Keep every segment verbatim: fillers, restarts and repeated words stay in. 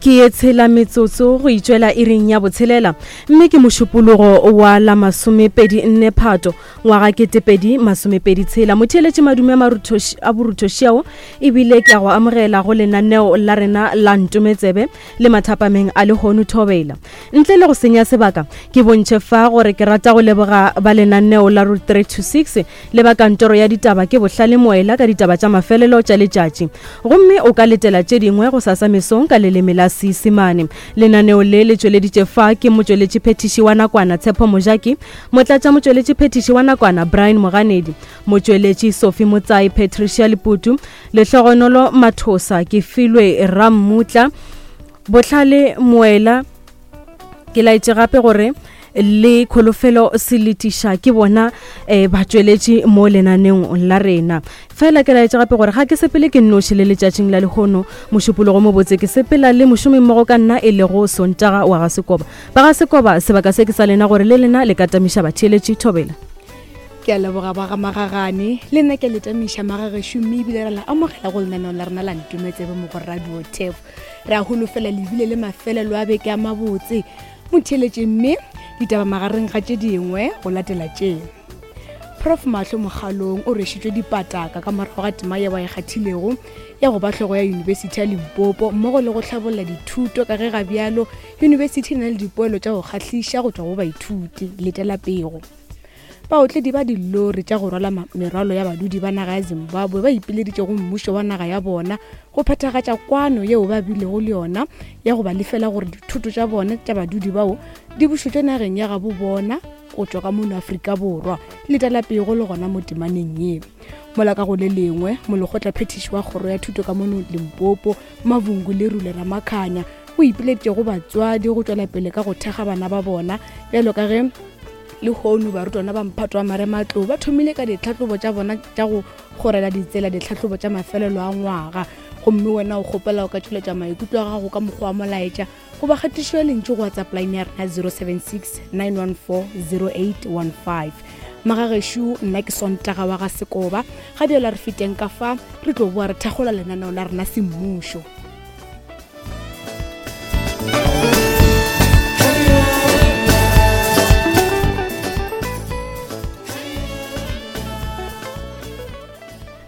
Ke ye tshela metsotso go itšwela iring ya botshelela, mme ke mošupologo wa la masomepedi nne Phato ngwaga ketepedi masomepedi tshela. Motheeletši madume a boruthošiao, ebile ke a go amogela go lenaneo la rena la Ntometsebe le mathapameng a lehono thobela. Ntle le go senya sebaka, ke bontšhe fa gore ke rata go leboga ba lenaneo la Route three two six le ba kantoro ya ditaba ke Bohlale Moela ka ditaba tša mafelelo tša letšatši. Gomme o ka letela tše dingwe go sasa mesong ka leleme la Seisemane. Lenaneo le le tšweleditše fa ke motšweletši phethiši wa nakwana Tshepo Mojaki, motlatša motšweletši phethiši wa nakwana Brian Moganedi, motšweletši Sophie Motsai, Patricia Leputu, Lehlogonolo Mathosa, ke filwe Rammutla, Bohlale Moela. Ke laetše gape gore le Kholofelo Seletiša ke bona eh, batšweletši mo lenaneong la rena. Fela ke laetše gape gore ga ke sepele ke nnoši le letšatšing la lehono mošupologo mobotse, ke sepela le mošomimmogo ka nna e lego Sontaga wa ga Sekoba. Ba ga Sekoba, sebaka se ke sa lena gore le lena le ka tamiša batheeletši thobela. Ke a leboga ba ga Magagane, le nna ke le tamiša magagešo, mme ebile re la amogela go lenaneo la rena la Ntometsebe mo go Radio Turf. Re a holofela le bile le mafelelo a beke a mabotse. Motheeletše mme ditaba magareng ga tše dingwe go latela tše. Prof Mahlo Mokgalong o rwešitšwe dipataka ka morago ga tema yeo a e kgathilego ya go ba hlogo ya Yunibesithi ya Limpopo mmogo le go hlabolla dithuto, ka ge ga bjalo yunibesithi e na le dipoelo tša go kgahliša go tšwa go baithuti. Letela pego. Baotledi ba dilori tša go rwala merwalo ya badudi ba naga ya Zimbabwe ba ipileditše go mmušo wa naga ya bona go phethagatša kwano yeo ba bilego le yona ya go ba lefela gore dithoto tša bona tša badudi bao di bušetšwe nageng ya gabo bona go tšwa ka mono Afrika Borwa. Letela pego le gona mo temaneng ye. Mola ka go le lengwe, molekgotla phethiši wa kgoro ya thuto ka mono Limpopo, Mavungu Lerule Ramakhanya, o ipileditše go batswadi go tšwela pele ka go thekga bana ba bona, bjalo ka ge lehono barutwana ba mphato wa marematlou ba thomile ka ditlhahlobo tša bona tša go kgorela ditsela ditlhahlobo tša mafelelo a ngwaga. Gomme wena o kgopela o ka tšweletša maikutlo a gago ka mokgwa wa molaetša goba kgatišo ya lentšu go WhatsApp line ya rena zero seven six nine one four zero eight one five. Magagešo, nna ke Sontaga wa ga Sekoba. Ga bjalo re feteng ka fa, re tlo boa re thakgola lenaneo la rena semmušo.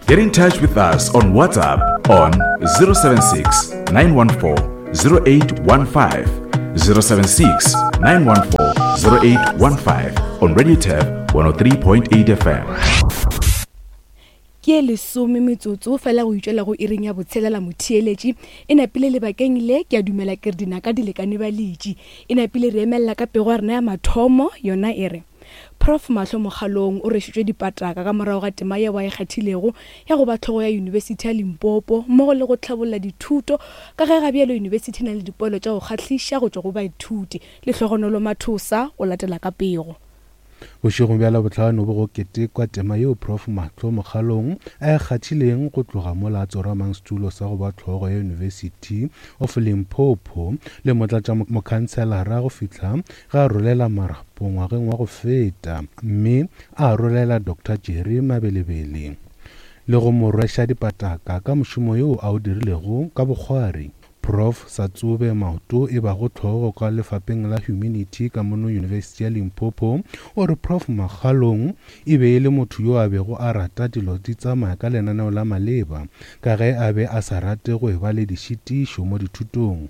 Get in touch with us on WhatsApp on zero seven six nine one four zero eight one five, zero seven six nine one four zero eight one five on Radio Turf one oh three point eight F M. Ke lesome metsotso fela go itšwela go iring ya botshelela motheeletši. E napile lebakeng le, ke a dumela ke re dinaka di lekane ba letši. E napile re emella ka pego ya rena ya mathomo, yona e re Prof Mahlo Mokgalong o rwešitšwe dipataka ka morago ga tema yeo a e kgathilego ya go ba hlogo ya Yunibesithi ya Limpopo mmogo le go hlabolla dithuto, ka ge ga bjalo yunibesithi e na le dipoelo tša go kgahliša go tšwa go baithuti. Lehlogonolo Mathosa o latela ka pego. Bošegong bja Labohlano bo go ketekwa tema yeo Prof Mahlo Mokgalong a e kgathileng go tloga mola a tsoramang setulo sa go ba hlogo ya University of Limpopo le motlatša mokhanselara go fihla ge a rolela marapo ngwageng wa go feta, mme a rolela Doctor Jerry Mabelebele le go mo rweša dipataka ka mošomo yo a o dirilego ka bokgwari. Prof Satsobe Maoto e bago hlogo ka lefapeng la Humanity ka mono University ya Limpopo o re Prof Makgalong e be e le motho yo a bego a rata dilo di tsamaya ka lenaneo la maleba, ka ge a be a sa rate go e ba le dišitišo mo dithutong.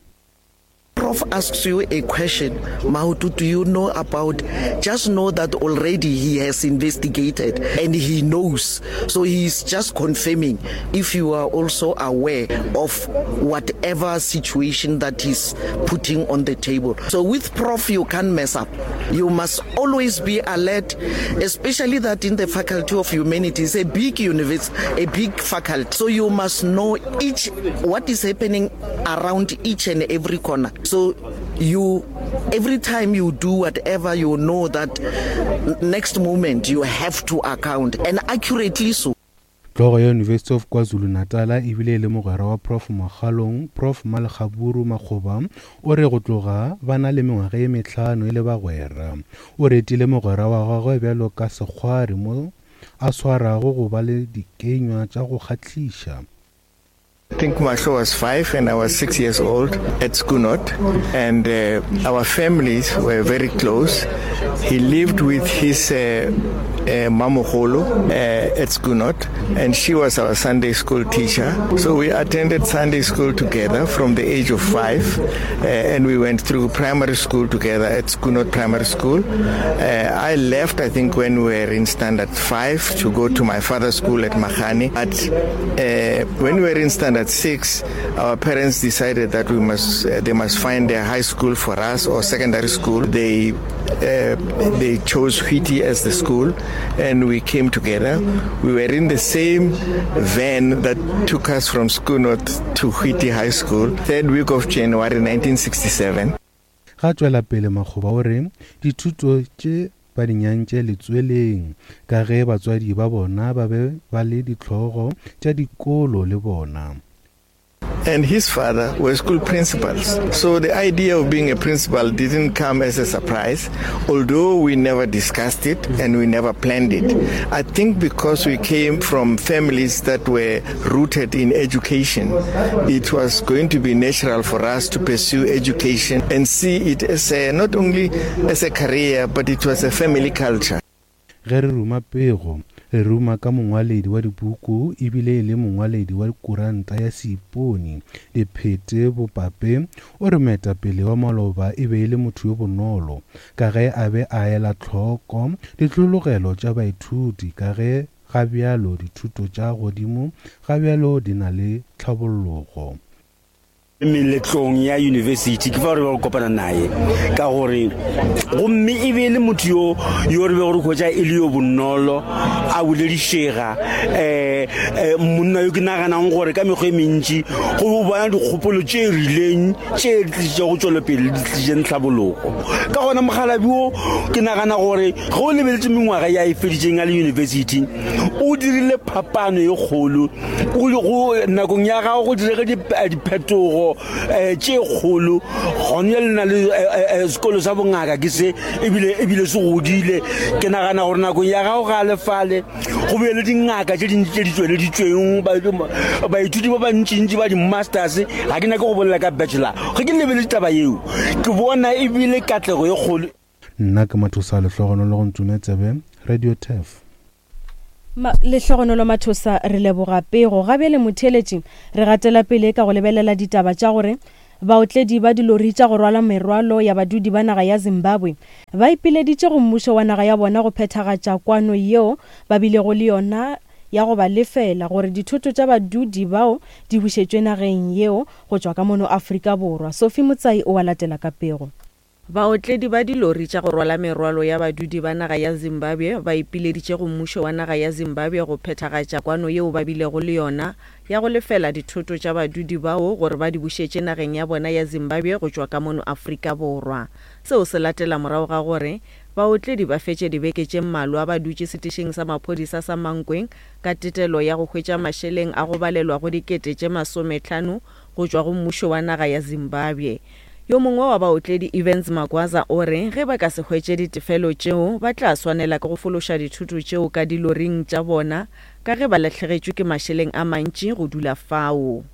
Prof asks you a question, Maoto, do you know about? Just know that already he has investigated and he knows. So he is just confirming if you are also aware of whatever situation that he's putting on the table. So with Prof, you can't mess up. You must always be alert, especially that in the Faculty of Humanities, a big university, a big faculty. So you must know each what is happening around each and every corner. So you, every time you do whatever, you know that next moment you have to account, and accurately so. Hlogo ya University of KwaZulu-Natal ebile e le mogwera wa Prof Makgalong, Prof Malekgaburu Makgoba, o re go tloga ba na le mengwaga ye mehlano e le bagwera. O retile mogwera wa gagwe bjalo ka sekgwari mo a swarago go ba le dikenywa tša go kgahliša. I think Mahlo was five and I was six years old at Schoonord, and uh, our families were very close. He lived with his uh, uh, Mamogolo uh, at Schoonord, and she was our Sunday school teacher. So we attended Sunday school together from the age of five, uh, and we went through primary school together at Schoonord Primary School. Uh, I left, I think, when we were in standard five to go to my father's school at Mahani. But uh, when we were in standard six, our parents decided that we must, uh, they must find a high school for us or secondary school. They uh, they chose Whitty as the school, and we came together. We were in the same van that took us from Schoonord to Whitty High School, third week of January nineteen sixty-seven. Ga tšwela pele Makgoba o re dithuto tše ba di nyantše letsweleng ka ge batswadi ba bona ba be ba le dihlogo tša dikolo le bona. And his father were school principals. So the idea of being a principal didn't come as a surprise, although we never discussed it and we never planned it. I think because we came from families that were rooted in education, it was going to be natural for us to pursue education and see it as a, not only as a career, but it was a family culture. Ge re ruma pego, re ruma ka mongwaledi wa dipuku ebile e le mongwaledi wa kuranta ya Seipone Diphete Bopape o re moetapele wa maloba e be e le motho yo bonolo ka ge a be a ela tlhoko ditlhologelo tša baithuti ka ge ga bjalo dithuto tša godimo ga bjalo di na le tlhabollogo. Meletlong ya university ke fa re be re kopana naye ka gore gomme e be le motho yo yo re be re hwetša e le yo bonolo a boledišega um monna yo ke naganang gore ka mekgwa e mentši go bona dikgopolo tše rileng tše di tlišitšego tšwelopele di tlišitšeng tlhabologo. Ka gona mogalabi wo ke nagana gore ge o lebeletše mengwaga ya e feditšeng a le university o dirile phapano ye kgolo go nakong ya gago go direge diphetogo tše kgolo gone le na le sekolo sa bongaka ke se ebile ebile se godile. Ke nagana gore nakong ya gago ga lefale go be le dingaka tše dintši tše di tšweleditšweng baithuti ba bantšintši ba di-masters ga ke nyake go bolela ka bachelor. Ge ke lebeletše taba yeo ke bona ebile katlego ye kgolo. Nna ke Mathosa Lehlogonolo go Ntsume Tsebe, Radio Turf. Lehlogonolo Mathosa, re leboga pego. Ga bjale motheeletši re gatela pele ka go lebelela ditaba tša gore baotledi ba dilori tša go rwala merwalo ya badudi ba naga ya Zimbabwe ba ipileditše go mmušo wa naga ya bona go phethagatša kwano yeo ba bilego le yona ya go ba lefela gore dithoto tša badudi bao di bušetšwe nageng yeo go tšwa ka mono Afrika Borwa. Sophie Motsai o a latela ka pego. Baotledi ba dilori tša go rwala merwalo ya badudi ba naga ya Zimbabwe ba ipileditše go mmušo wa naga ya Zimbabwe go phethagatša kwano yeo ba bilego le yona ya go lefela dithoto tša badudi bao gore ba di bušetše nageng ya bona ya Zimbabwe go tšwa ka mono Afrika Borwa. Seo se latela morago ga gore baotledi ba fetše dibeke tše mmalwa ba dutše setišing sa maphodisa sa Mankweng ka tetelo ya go hwetša mašeleng a go balelwa go dikete tše masometlhano go tšwa go mmušo wa naga ya Zimbabwe. Yo mongwe wa baotledi Evans Magwaza o re ge ba ka se hwetše ditefelo tšeo ba tla swanela ke go fološa dithoto tšeo ka diloring tša bona ka ge ba lahlegetšwe ke mašeleng a mantši go dula fao.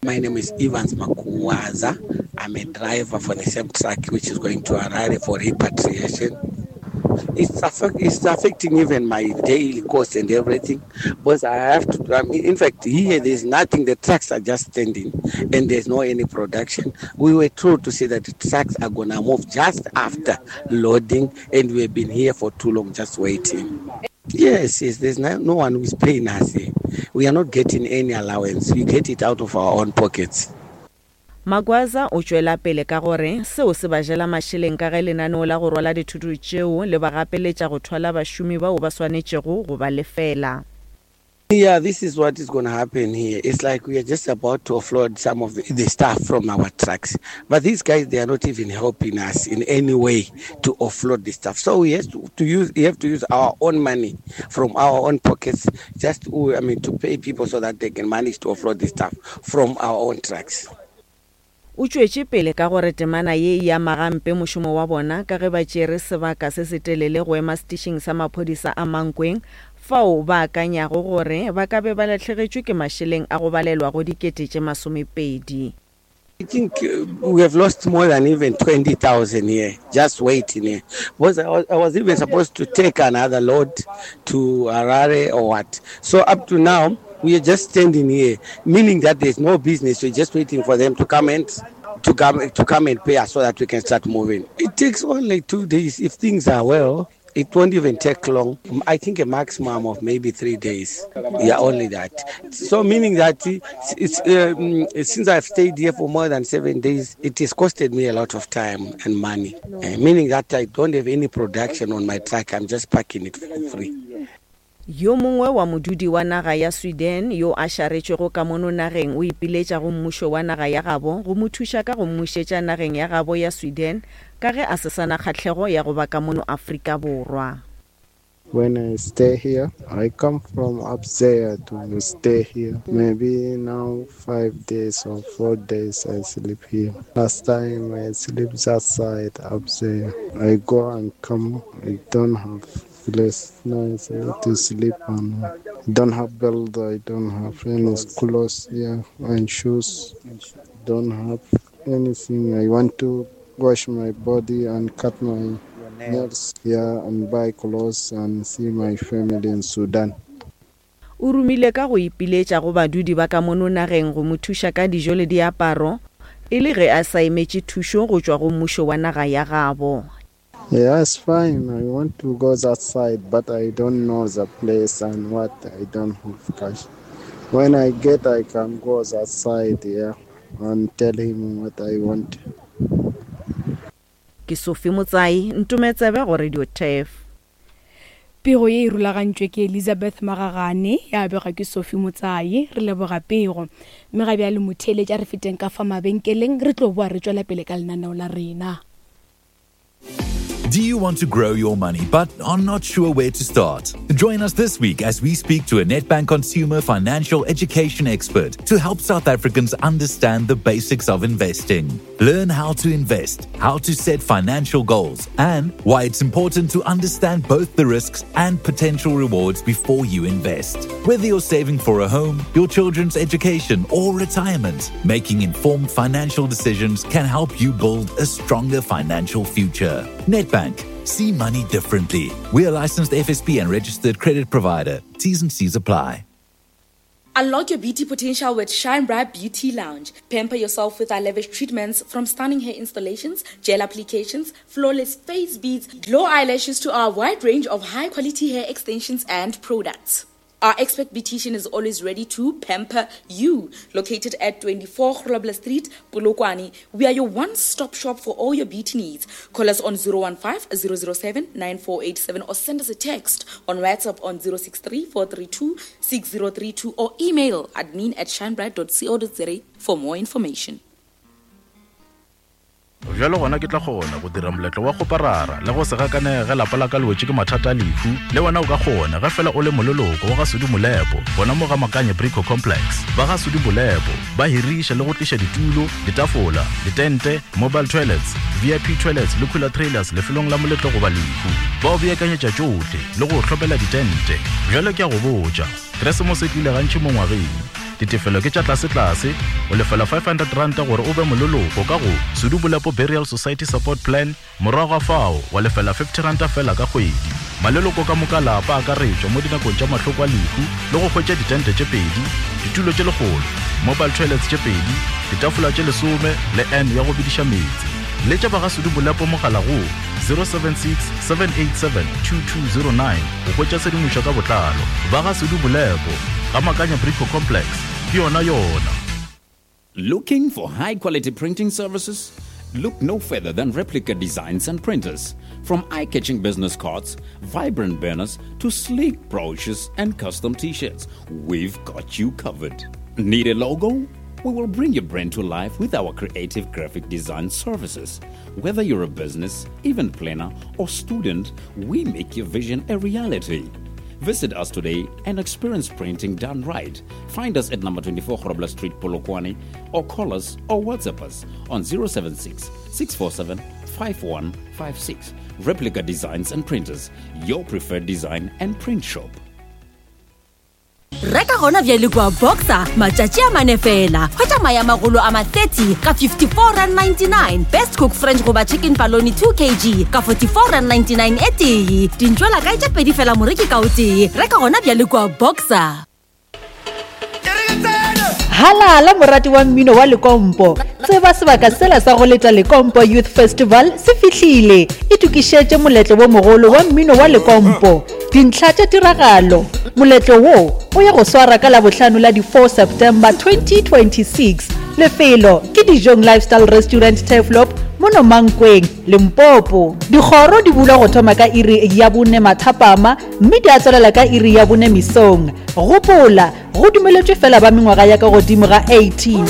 My name is Evans Makuwaza. I'm a driver for the same truck which is going to Harare for repatriation. It's, affect, it's affecting even my daily cost and everything. But I have to, I mean, in fact, here there's nothing. The trucks are just standing and there's no any production. We were told to say that the trucks are going to move just after loading, and we have been here for too long just waiting. Yes, yes, there's no, no one who is paying us here. We are not getting any allowance. We get it out of our own pockets. Magwaza o tšwela pele ka gore seo se ba jela mašeleng ka ge lenaneo la go rwala dithoto tšeo le ba gapeletša go thwala bašomi bao ba swanetšego go ba lefela. Yeah, this is what is going to happen here. It's like we are just about to offload some of the, the staff from our trucks. But these guys, they are not even helping us in any way to offload the stuff. So we have to, to use, we have to use our own money from our own pockets just to, I mean, to pay people so that they can manage to offload the stuff from our own trucks. O tšwetše pele ka gore temana ye e ama gampe mošomo wa bona ka ge ba tšere sebaka se se telele go ema setišing sa maphodisa a Mankweng Fao ba akanyago gore ba ka be ba lahlegetšwe ke mašeleng a go balelwa go dikete tše masomepedi. I think we have lost more than even twenty thousand here, just waiting here. Because I was, I was even supposed to take another load to Harare or what. So up to now, we are just standing here, meaning that there's no business. We're just waiting for them to come and to come to come and pay us so that we can start moving. It takes only two days. If things are well, it won't even take long. I think a maximum of maybe three days. Yeah, only that. So meaning that it's, it's, um, since I've stayed here for more than seven days, it has costed me a lot of time and money. Uh, meaning that I don't have any production on my truck. I'm just parking it for free. Yo mongwe wa modudi wa naga ya Sweden yo a šaretšwego ka mono nageng o ipiletša go mmušo wa naga ya gabo go mo thuša ka go mmušetša nageng ya gabo ya Sweden ka ge a se sana kgahlego ya go ba ka mono Afrika Borwa. When I stay here, I come from up there to stay here. Maybe now five days or four days I sleep here. Last time I sleep that side up there. I go and come. I don't have place nice to sleep on. I don't have belt. I don't have any clothes here and shoes. Don't have anything. I want to wash my body and cut my nails here and buy clothes and see my family in Sudan. O romile ka go ipiletša go badudi ba ka mono nageng go mo thuša ka dijo le diaparo e le ge a sa emetše thušo go tšwa go mmušo wa naga ya gabo. Yeah, it's fine. I want to go that side, but I don't know the place and what. I don't have cash. When I get, I can go that side, yeah, and tell him what I want. Ke Sophie Motsai, Ntometsebe go Radio T E F. Pego ye e rulagantšwe ke Elizabeth Magagane, ya bega ke Sophie Motsai. Re leboga pego. Mme ga bjale motheeletši, a re feteng ka fa mabenkeleng, re tlo boa re tšwela pele ka lenaneo la rena. Do you want to grow your money but are not sure where to start? Join us this week as we speak to a Nedbank consumer financial education expert to help South Africans understand the basics of investing. Learn how to invest, how to set financial goals, and why it's important to understand both the risks and potential rewards before you invest. Whether you're saving for a home, your children's education, or retirement, making informed financial decisions can help you build a stronger financial future. Nedbank. See money differently. We are licensed F S P and registered credit provider. T's and C's apply. Unlock your beauty potential with Shine Bright Beauty Lounge. Pamper yourself with our lavish treatments, from stunning hair installations, gel applications, flawless face beads, glow eyelashes to our wide range of high-quality hair extensions and products. Our expert beautician is always ready to pamper you. Located at twenty-four Grobler Street, Polokwane, we are your one-stop shop for all your beauty needs. Call us on zero one five, zero zero seven, nine four eight seven or send us a text on WhatsApp on zero six three, four three two, six zero three two or email admin at shinebright dot co dot za for more information. Bjalo gona ke tla kgona go dira moletlo wa go parara le go se gakanege ge lapa la ka le wetše ke mathata a lehu. Le wena o ka kgona ge fela o le moleloko wa ga Sudi Molepo, gona mo ga Makanye Brico Complex. Ba ga Sudi Molepo ba hiriša le go tliša ditulo, ditafola, ditente, mobile toilets, V I P toilets le cooler trailers lefelong la moletlo goba lehu. Ba o beakanyetša tšohle le go hlopela ditente. Bjalo ke a go botša, Keresemose e tlile gantši mo ngwageng. Ditefelo ke tša tlase-tlase, o lefela five hundred rand gore o be moleloko ka go Sudi Molepo Burial Society Support Plan, morago ga fao wa lefela fifty rand fela ka kgwedi. Maleloko ka moka lapa a akaretšwa mo dinakong tša mahloko a lehu le go hwetša ditente tše pedi, ditulo tše lekgolo, mobile toilets tše pedi, ditafola tše lesome le N ya go bediša meetse. Letša ba ga Sudi Molepo mogala go zero seven six, seven eight seven, two two zero nine go hwetša tshedimošo ka botlalo. Ba ga Sudi Molepo, ga Makanya Brico Complex, ke yona yona. Looking for high-quality printing services? Look no further than Replica Designs and Printers. From eye-catching business cards, vibrant banners, to sleek brochures and custom t-shirts, we've got you covered. Need a logo? We will bring your brand to life with our creative graphic design services. Whether you're a business, event planner, or student, we make your vision a reality. Visit us today and experience printing done right. Find us at number twenty-four Grobler Street, Polokwane, or call us or WhatsApp us on zero seven six, six four seven, five one five six. Replica Designs and Printers, your preferred design and print shop. Reka gona bjale kua Boxer matšatši a mane fela. Hwetša mae a magolo a ma thirty ka fifty-four rand ninety-nine, Best Cook French goba Chicken Paloni two kg ka forty-four rand ninety-nine e tee. Dintšwela kae tše pedi fela moreki ka o tee. Reka gona bjale kua Boxer. Halala morati wa mmino wa Lekompo. Tseba sebaka sela sa go leta Lekompo Youth Festival se fihlile. Itokišetše moletlo wo mogolo wa mmino wa Lekompo. Dintlha tša tiragalo. Moletlo wo o ya go swara ka Labohlano la di four September twenty twenty-six. Lefelo ke Dijong Lifestyle Restaurant Turfloop mono Mankweng, Limpopo. Dikgoro di bulwa go thoma ka iri ya bone mathapama mme di a tswelela ka iri ya bone mesong. Gopola, go dumeletšwe fela ba mengwaga ya ka godimo ga eighteen.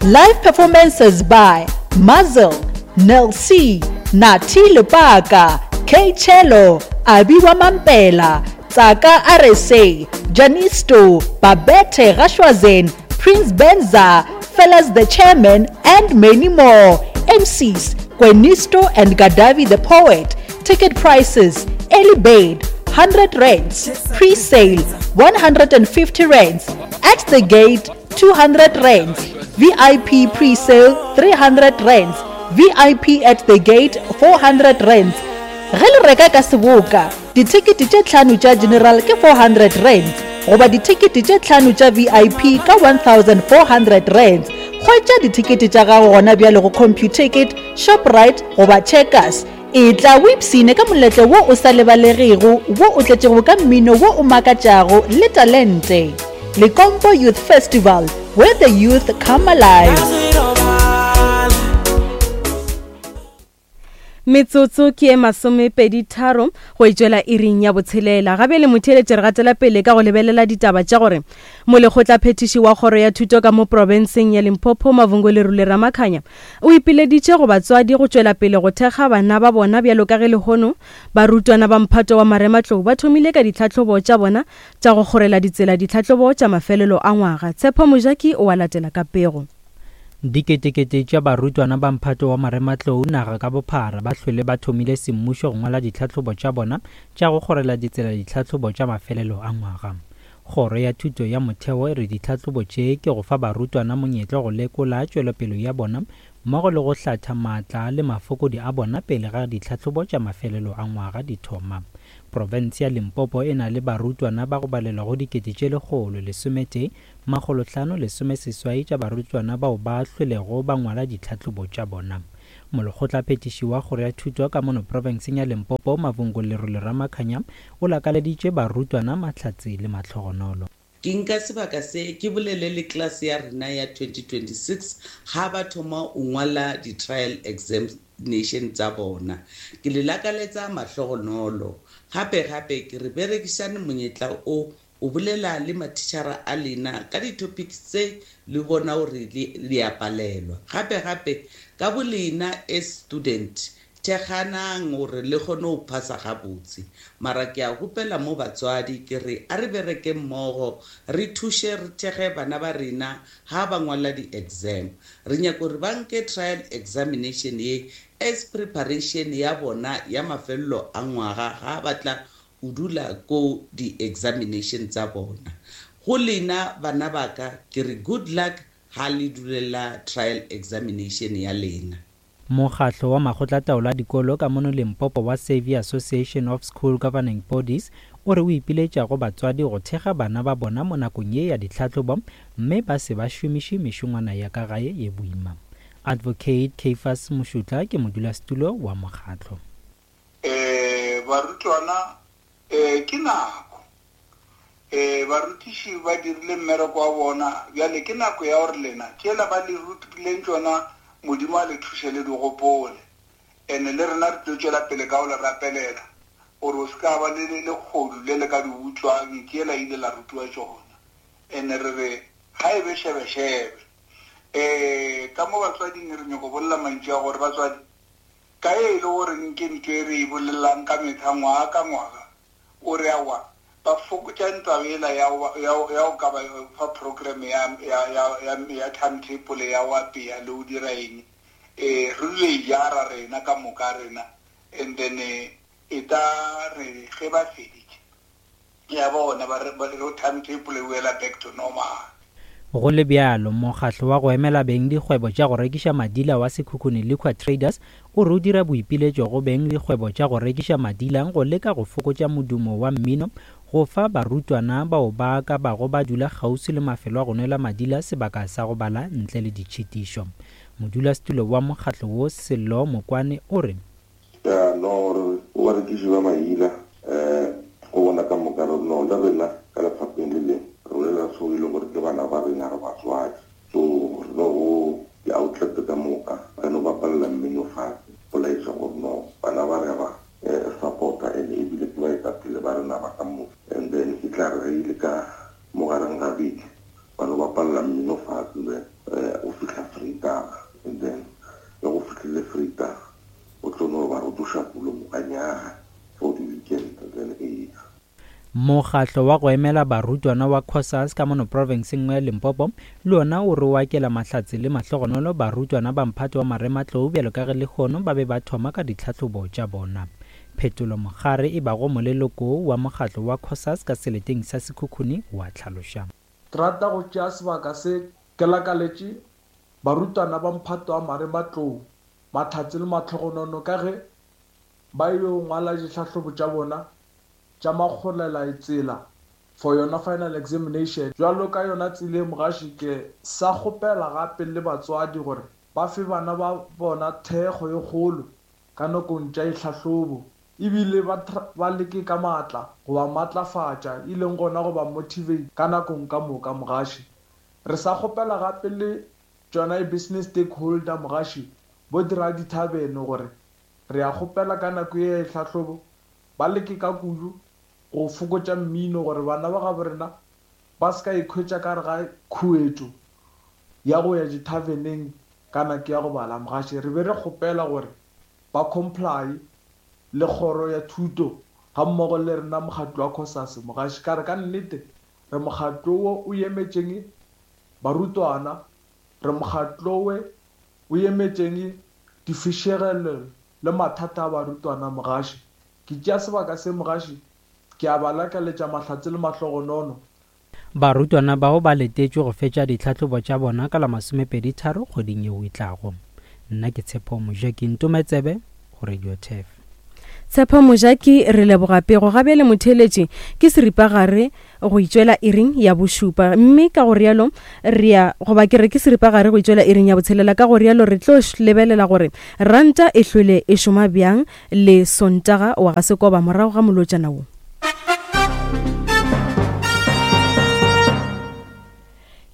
Live performances by Muzzle, Nel C, Nati Lepaka, K Cello, Abiwa Mampela, Tsaka R S A, Janisto, Babette Rashwazen, Prince Benza, Fellas the Chairman, and many more. M Cs, Gwenisto and Gadavi the Poet. Ticket prices, early bird, hundred rands, pre-sale, one hundred and fifty rands, at the gate, two hundred rands, V I P pre-sale, three hundred rands, V I P at the gate, four hundred rands. Ge le reka ka seboka, dithekete tše tlhano tša general ke four hundred rands, goba dithekete tše tlhano tša V I P ka one thousand four hundred rands. Hwetša dithekete tša gago gona bjale go Computicket, Shoprite goba Checkers. E tla o ipsine ka moletlo wo o sa lebalegego, wo o tletšego ka mmino wo o makatšago le talente. Lekompo Youth Festival, where the youth come alive. Metsotso ke e masomepedi tharo go itšwela iring ya botshelela. Gabe le motheeletše re gatela pele ka go lebelela ditaba tša gore molekgotlaphethiši wa kgoro ya thuto ka mo profenseng ya Limpopo Mavungo Lerule Ramakhanya o ipileditše go batswadi go tšwela pele go thekga bana ba bona bjalo ka ge lehono barutwana ba mphato wa marematlou ba thomile ka ditlhahlobo tša bona tša go kgorela ditsela ditlhahlobo tša mafelelo a ngwaga. Tshepo Mojaki o a latela ka pego. Diketekete tša barutwana ba mphato wa marematlou naga ka bophara ba hlwele ba thomile semmušo go ngwala ditlhahlobo tša bona tša go kgorela ditsela ditlhahlobo tša mafelelo a ngwaga. Kgoro ya thuto ya motheo e re ditlhahlobo tše ke go fa barutwana monyetla go lekola tšwelopele ya bona mmogo le go hlatha maatla le mafokodi a bona pele ga ditlhahlobo tša mafelelo a ngwaga di thoma. Profense ya Limpopo e na le barutwana ba go balelwa go dikete tše lekgolo lesometee makgolo hlano lesomeseswai tša barutwana bao ba hlwelego ba ngwala ditlhahlobo tša bona. Molekgotlaphethiši wa kgoro ya thuto ka mono profenseng ya Limpopo Mavungo Lerule Ramakhanya o lakaleditše barutwana mahlatse le mahlogonolo. Ke nka sebaka se ke bolele le class ya rena ya twenty twenty-six ga ba thoma o ngwala di-trial examination tsa bona. Ke le lakaletsa mahlogonolo. Gape gape ke re berekišane monyetla o o bolela le mathichara a lena ka di-topics tse le bona gore le a palelwa. Gape gape ka bolena as student thekganang gore le kgone go phasa gabotse. Mara ke a gopela mo batswadi ke re a re bereke mmogo, re thuše re thekge bana ba rena ha ba ngwala di-exam. Re nyaka gore ba nke trial examination ye as preparation ya bona ya mafelelo a ngwaga ga ba tla o dula ko di-examination tsa bona. Go lena bana ba ka ke re good luck ha le dulela trial examination ya lena. Mokgatlo wa makgotlataolo a dikolo ka mono Limpopo wa Saviour Association of School Governing Bodies o re o ipiletša go batswadi go thekga bana ba bona mo nakong ye ya ditlhahlobo mme ba se ba šomiše mešongwana ya ka gae ye boima. Advocate Caiphus Mošutla ke modulasetulo wa mokgatlo. Eh barutwana eh ke nako eh barutiši ba dirile mmereko wa bona bjale ke nako ya gore lena tšela ba le rutileng tšona Modimo a le thuše le di gopole. Ene le rena re tlo tšwela pele ka go le rapelela gore o se ka ba le lekgodu le le ka di utswang tšela ile la rutiwa tšona. Ene re re ga e be šebešebe. Eh ka mo batswading re nyako bolela mantšu a gore batswadi ka e le gore nke ntho e re e bolelang ka metlha ngwaga ka ngwaga o re awa ba fokotša ntaba ela ya ya ya ka ba fa program ya ya ya ya timetable ya wa pea le o dira eng eh re le jara rena ka moka rena and then e ta re ge ba feditše Ya bona ba re ba re timetable e boela back to normal. Go le bjalo, mokgatlo wa go emela beng dikgwebo tša go rekiša madila wa Sekhukhune Liquor Traders o re o dira boipiletšo go beng dikgwebo tša go rekiša madila go leka go fokotša modumo wa mmino go fa barutwana bao ba ka bago ba dula kgauswi le mafelo a go nwela madila sebaka sa go bala ntle le ditšhitišo. Modulasetulo wa mokgatlo wo Sello Mokwane o re ya no re o barekiši ba maila um go bona ka moka re no le rena ka lefapheng le leng re bolela so e le gore ke bana ba rena re batswadi so re no go di-outlet ka moka ka no bapalela mmino fatshe go laetša gore no bana ba re ba support-a and ebile ke baetapele ba rena ba ka moka and then e tla re ge ile ka mogareng ga beke ba no bapalela mmino fatshe then o fihla Vrydag and then le go fihlile Vrydag o tlo no ba rotoša pulo mokanyaga for the weekend then e Mokgatlo wa go emela barutwana wa COSAS ka mono profenseng ya Limpopo le ona o re o akela mahlatse le mahlogonolo barutwana ba mphato wa marematlou bjalo ka ge lehono ba be ba thoma ka ditlhahlobo tša bona. Phetolo Mogare e bago moleloko wa mokgatlo wa COSAS ka seleteng sa Sekhukhune wa tlhaloša. Ke rata go tšea sebaka se ke lakaletše barutwana ba mphato wa marematlou mahlatse le mahlogonono ka ge ba yo ngwala ditlhahlobo tša bona tša makgolela tsela for yona final examination. Jwalo ka yona tsela mogaši ke sa kgopela gape le batswadi gore ba fe bana ba bona thekgo e kgolo ka nakong tša ditlhahlobo ebile ba ba leke ka maatla go ba matlafatša e leng gona go ba motivate ka nakong ka moka mogaši. Re sa kgopela gape le tšona business stakeholder mogaši bo dira dithabene gore re a kgopela ka nako ye tlhahlobo ba leke ka kudu go fokotša mmino gore bana ba gabo rena ba se ka ikhwetša ka re ga khuetšo ya go ya dithaveneng ka nako ya go bala mogaši. Re be re kgopela gore ba comply le kgoro ya thuto ga mmogo le rena mokgatlo wa COSAS mogaši ka re ka nnete re mokgatlo wo o emetšeng barutwana, re mokgatlo we o emetšeng difišegelo le mathata a barutwana mogaši. Ke tšea sebaka se mogaši ke a ba lakaletša mahlatse le mahlogonono. Barutwana bao ba letetšwe go fetša ditlhahlobo tša bona ka la masomepedi tharo kgweding yeo e tlago. Nna ke Tshepo Mojaki, Ntometsebe go Radio Turf. Tshepo Mojaki, re leboga pego. Gabjale motheeletši ke seripagare go itšwela iring ya bošupa, mme ka go rialo re ya goba ke re ke seripagare go itšwela iring ya botshelela. Ka go rialo re tlo lebelela gore ranta e hlwele e šoma bjang le Sontaga wa ga Sekoba morago ga molotšana wo.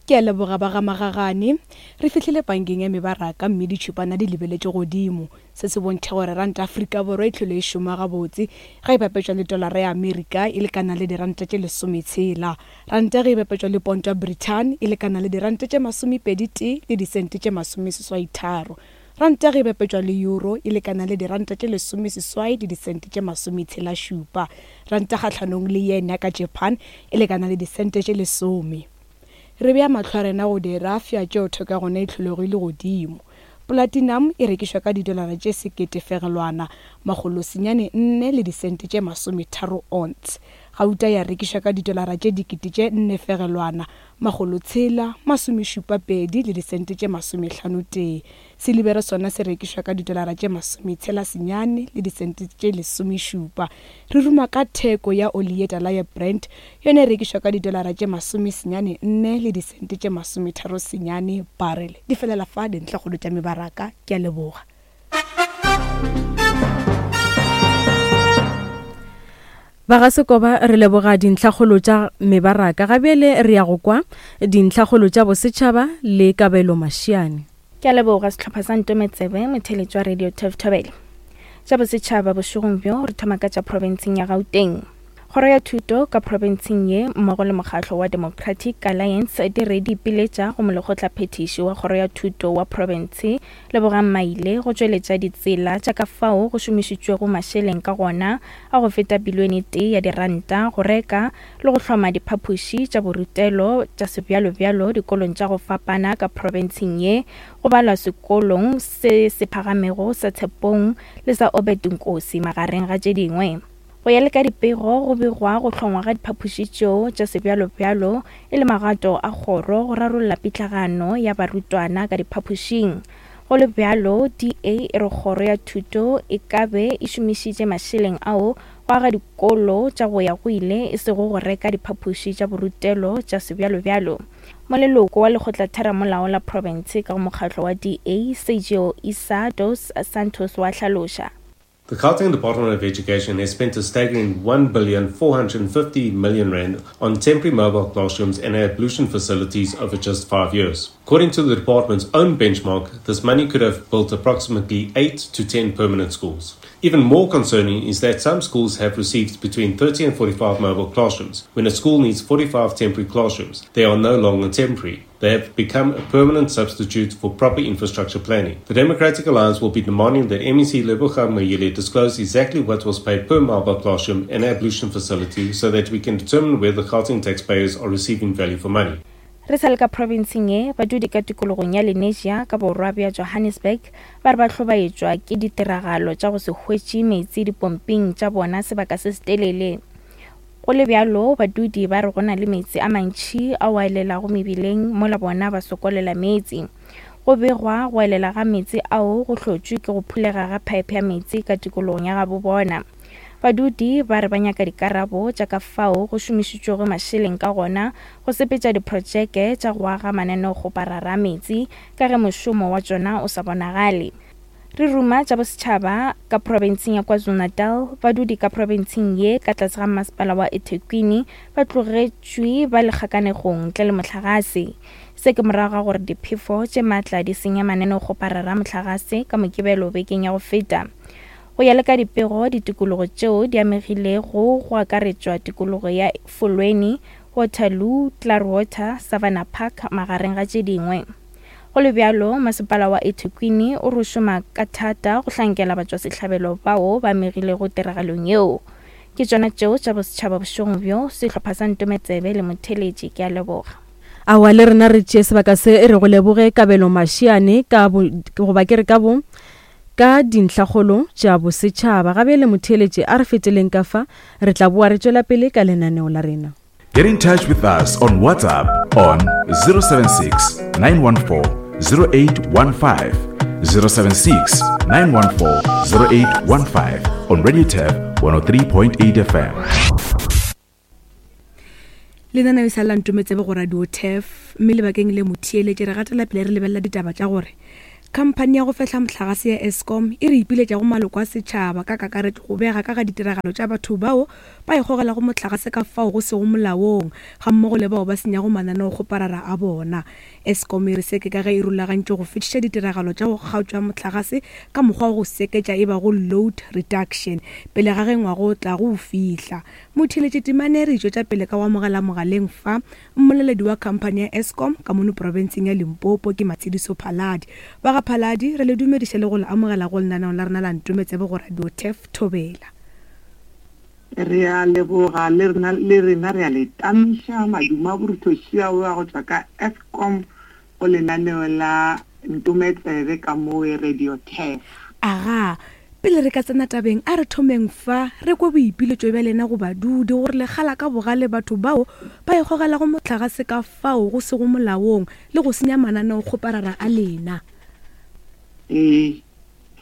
Ke a leboga ba ga Magagane. Re fihlile bankeng ya mebaraka mme ditšhupana di lebeletše godimo. Se se bontšha gore ranta Afrika Borwa e tlhole e šoma gabotse ge e bapetšwa le tolara ya Amerika e lekana le diranta tše lesometshela. Ranta ge e bapetšwa le ponto ya Britain e lekana le diranta tše masomepedi tee le disente tše masomeseswai tharo. Ranta ge e bapetšwa le euro e lekana le diranta tše lesomeseswai le disente tše masometshela šupa. Ranta kgahlanong le yen ya ka Japan e lekana le disente tše lesome. Re bea mahlo a rena go dirafša tšeo theko ya gona e tlholegile godimo. Platinum e rekišwa ka didolara tše sekete fegelwana makgolo senyane nne le disente tše masometharo ounce. Gauta ya rekišwa ka didolara tše dikete tše nne fegelwana makgolo tshela masomešupa pedi le disente tše masomehlano tee. Silibere sona se rekišwa ka didolara tše masometshela senyane le disente tše lesomešupa. Re ruma ka theko ya oli ye tala ya Brent, yona e rekišwa ka didolara tše masomesenyane nne le disente tše masometharo senyane barrel. Di felela fa dintlhakgolo tša mebaraka. Ke a leboga. Ba ga Sekoba re leboga dintlhakgolo tša mebaraka. Gabjale re ya go kwa dintlhakgolo tša bosetšhaba le Kabelo Mashiane. Ke a leboga sehlopha sa Ntometsebe, motheeletši wa Radio Turf Thobela. Tša bosetšhaba bošegong bjo re thoma ka tša profenseng ya Gauteng. Kgoro ya thuto ka profenseng ye mmogo le mokgatlo wa Democratic Alliance di re di ipiletša go molekgotlaphethiši wa kgoro ya thuto wa profense Lebogang Maile go tšweletša ditsela tša ka fao go šomišitšwego mašeleng ka gona a go feta bilione tee ya diranta go reka le go hloma diphapoši tša borutelo tša sebjalobjalo dikolong tša go fapana ka profenseng ye, go balwa sekolong se se phagamego sa Tshepong le sa Obed Nkosi magareng ga tše dingwe. Go ya le ka dipego go begwa go hlongwa ga diphapoši tšeo tša sebjalobjalo e le magato a kgoro go rarolla pitlagano ya barutwana ka diphapošing. Go le bjalo, D A e re kgoro ya thuto e ka be e šomišitše mašeleng ao go aga dikolo tša go ya go ile e sego go reka diphapoši tša borutelo tša sebjalobjalo. Moleloko wa lekgotlatheramolao la province ka go mokgatlo wa D A, Sergio Isa dos Santos wa hlaloša. The Gauteng Department of Education has spent a staggering one billion four hundred fifty million rand on temporary mobile classrooms and ablution facilities over just five years. According to the department's own benchmark, this money could have built approximately eight to ten permanent schools. Even more concerning is that some schools have received between thirty and forty-five mobile classrooms. When a school needs forty-five temporary classrooms, they are no longer temporary. They have become a permanent substitute for proper infrastructure planning. The Democratic Alliance will be demanding that M E C Lebogang Maile disclose exactly what was paid per mobile classroom and ablution facility so that we can determine whether the Gauteng taxpayers are receiving value for money. Re sa le ka provinceng ye, badudi ka tikologong ya Lenasia ka borwa bja Johannesburg ba re ba hlobaetšwa ke ditiragalo tša go se hwetše meetse dipomping tša bona sebaka se setelele. Go le bjalo, badudi ba re go na le meetse a mantši ao a elelago mebileng mola bona ba sokolela meetse. Go begwa go elela ga meetse ao go hlotšwe ke go phulega ga phaephe ya meetse ka tikologong ya gabo bona. Badudi ba re ba nyaka dikarabo tša ka fao go šomišitšwego mašeleng ka gona go sepetša diprotšeke tša go aga mananeokgoparara a meetse ka ge mošomo wa tšona o sa bonagale. Re ruma tša bosetšhaba ka profenseng ya KwaZulu-Natal, badudi ka profenseng ye ka tlase ga masepala wa eThekwini ba tlogetšwe ba le kgakanegong ntle le mohlagase. Se ke morago ga gore diphefo tše maatla di senya mananeokgoparara a mohlagase ka Mokibelo bekeng ya go feta. Go ya le ka dipego, ditikologo tšeo di amegilego go akaretšwa tikologo ya Folweni, Waterloo, Klaarwater, Savannah Park magareng ga tše dingwe. Go le bjalo, masepala wa eThekwini o re šoma ka thata go hlankela batšwasehlabelo bao ba amegilego tiragalong yeo. Ke tšona tšeo tša bosetšhaba bošegong bjo, sehlopha sa Ntometsebe le Motheletši, ke a leboga. Aowa le rena re tšee sebaka se re go leboge Kabelo Mashiane ka goba ke re ka bo ka dintlhakgolo tša bosetšhaba. Ga bjale motheeletši a re feteleng ka fa, re tla boa re tšwela pele ka lenaneo la rena. Get in touch with us on WhatsApp on zero seven six, nine one four, zero eight one five, zero seven six, nine one four, zero eight one five on Radio Turf one oh three point eight F M. Lenaneo e sa la Ntometsebe go Radio Turf, mme lebakeng le motheeletše re gatela pele re lebelela ditaba tša gore khamphani ya go fehla mohlagase ya Eskom e re ipiletša go maloko a setšhaba ka kakaretšo go bega ka ga ditiragalo tša batho bao ba ikgogelago mohlagase ka fao go sego molaong ga mmogo le bao ba senyago mananeokgoparara a bona. Eskom e re se ke ka ge e rulagantše go fetiša ditiragalo tša go kgaotšwa mohlagase ka mokgwa wa go seketša e bago load reduction pele ga ge ngwaga o tla go fihla. Motheeletši temane re tšwetša pele ka go amogela mogaleng fa mmoleledi wa khamphani ya Eskom ka mono profenseng ya Limpopo ke Matshidiso Phaladi. Ba Phaladi, re le dumediše le go le amogela go lenaneo la rena la Ntometsebe go Radio Turf Thobela. Re a leboga le rena le rena re a le tamiša maduma boruthošia wa go tšwa ka Eskom go lenaneo la Ntometsebe ka mo Radio Turf. Aga, pele re ka tsena tabeng a re thomeng fa re kwe boipiletšo bja lena go badudi gore le kgala ka bogale batho bao ba ikgogelago mohlagase ka fao go sego molaong le go senya mananeokgoparara a lena. Eh,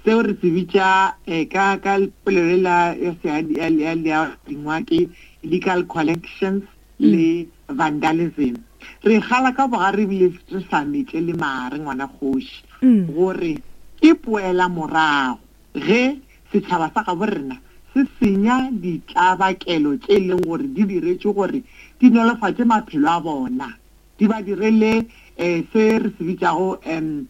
seo re se bitša ka ka polelo la ya ya dingwa ke illegal collections le vandalism. Re kgala ka bogare ebile re sa metle le mare ngwana kgoši gore ke poela morago ge setšhaba sa gabo rena se senya ditlabakelo tše e leng gore di diretšwe gore di nolofatše maphelo a bona, di ba direle um se re se bitšago um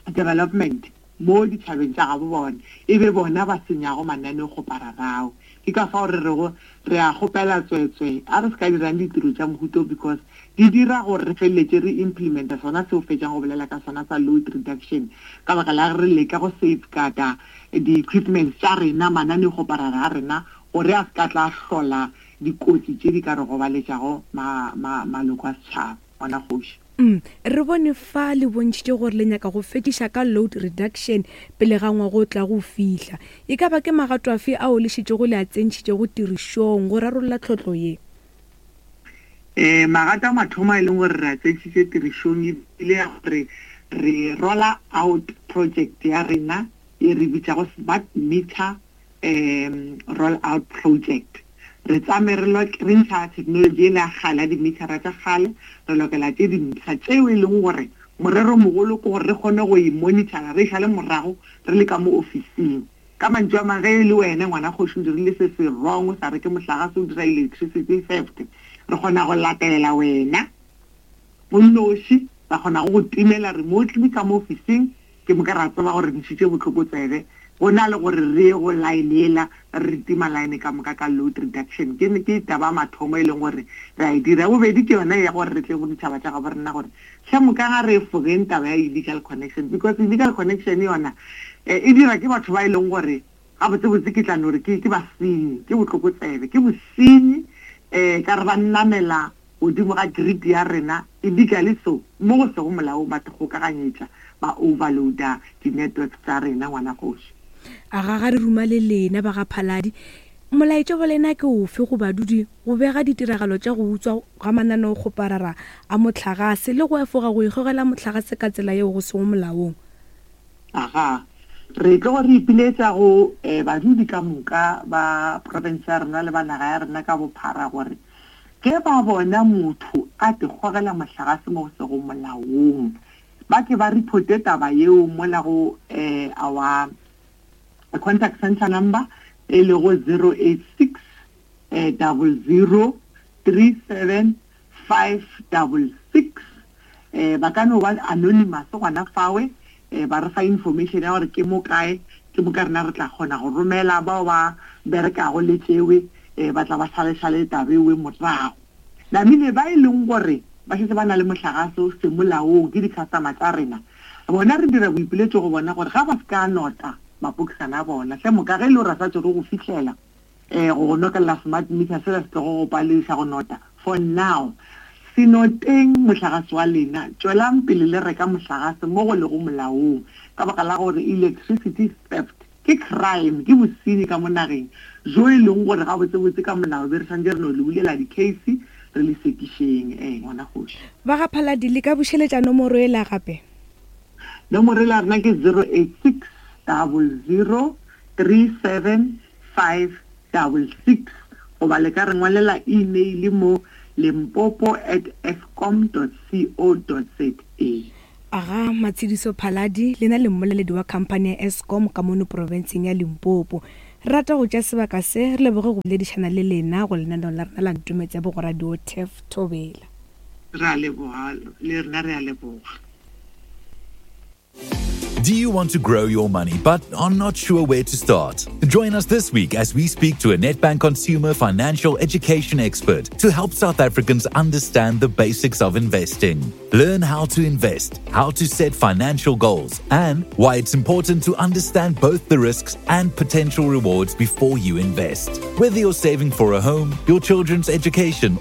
development mo ditšhabeng tša gabo bona, e be bona ba senyago mananeokgopararao. Ke ka fao re rego re a kgopela tswetswe a re se ka dirang ditiro tša mohuto because di dira gore re feleletše re implementa sona seo fetšang go bolela ka sona sa load reduction ka baka la re leka go safeguarda di-equipments tša rena, mananeokgoparara a rena gore a se ka tla hlola dikotsi tše di ka re gobaletšago maloko a setšhaba. Ngwana kgoši. Mm, re bone fa le bontšhitše gore le nyaka go fetiša ka load reduction pele ga ngwaga o tla go fihla. E ka ba ke magato afe ao le šetšego le a tsentšhitšego tirišong go rarolla tlhotlo ye? Um magato a mathomo a e leng gore re a tsentšhitše tirišong ebile ya gore re rolla out project ya rena e re bitšago smart meter um roll out project. Re tsame re re ntšha technology ele ya kgale ya di-metera tša kgale, re lokela tše dintsha tšeo e leng gore morero mogolo ke gore re kgone go e monitora re šale morago re le ka mo ofising. Ka mantšu a mang, ge e le wena ngwana kgoši o dirile se se wrong, o sa reke mohlagase, o dira electricity theft, re kgona go latela wena o nnoši, ra kgona go go timela remotely ka mo ofising, ke moka ra tseba gore re ntšhitše bohlokotsebe. Go na le gore re ye go line ela re tima line ka moka ka load reduction. Ke ke taba mathomo e leng gore re a e dira. Bobedi ke yona ya gore re tle go ditšhaba tša gabo rena gore hle moka ga re efogeng taba ya illegal connection, because illegal connection yona e dira ke batho ba e leng gore gabotsebotse ke tla no re ke ke basenyi, ke bohlokotsebe, ke bosenyi um ka re ba namela godimo ga grid ya rena illegally, so mo go sego molaong ba kgokaganyetša ba overloada di-networks tša rena ngwana kgoši. A ga ga re ruma le lena ba ga Phaladi, molaetša wa lena ke ofe go badudi go bega ditiragalo tša go utswa ga mananeokgoparara a mohlagase le go efoga go ikgogela mohlagase ka tsela yeo go sego molaong? Aga, re tlo re ipiletša go um badudi ka moka ba province ya rena le ba naga ya rena ka bophara gore ge ba bona motho a tikgogela mohlagase mo go sego molaong, ba ke ba reporte taba yeo mola go um our contact center number e lego zero eight six double zero three seven five double six. Um ba ka no ba anonymous gona fawe, um ba re fa information ya gore ke mo kae, ke mo ka rena re tla kgona go romela bao ba berekago le tšewe, um ba tla ba šalešale taba ewe morago. Namile ba e leng gore ba šetše ba na le mohlagase o se molaong ke di-customer tša rena, bona re dira boipiletšo go bona gore ga ba se ka nota mapokisana a bona hle moka ge e le gore a sa tsere go fihlela um go go nokelela smart meter sela se tlogo go palediša go nota. For now se noteng mohlagase wa lena, tšwelang pele le reka mohlagase mo go lego molaong, ka baka la gore electricity theft ke crime, ke bosenyi ka mo nageng jo e leng gore gabotsebotse ka molao be re santse re no le bulela di-case re le sekišeng. Um ngwana kgoši. Ba ga Phaladi, le ka bušeletša nomoro ela gape? Nomoro ela rena ke zero eight six double zero three seven five double six, goba le ka re ngwalela email mo limpopo at eskom dot co dot za. Aga Matshidiso Phaladi, lena le mmoleledi wa khamphani ya Eskom ka mono profenseng ya Limpopo. Re rata go tša sebaka se re leboge go boledišana le lena go lenaneo la rena la Ntometse bo go Radio Turf Thobela. Re a leboga, le rena re a leboga. Do you want to grow your money but are not sure where to start? Join us this week as we speak to a Nedbank consumer financial education expert to help South Africans understand the basics of investing. Learn how to invest, how to set financial goals, and why it's important to understand both the risks and potential rewards before you invest. Whether you're saving for a home, your children's education,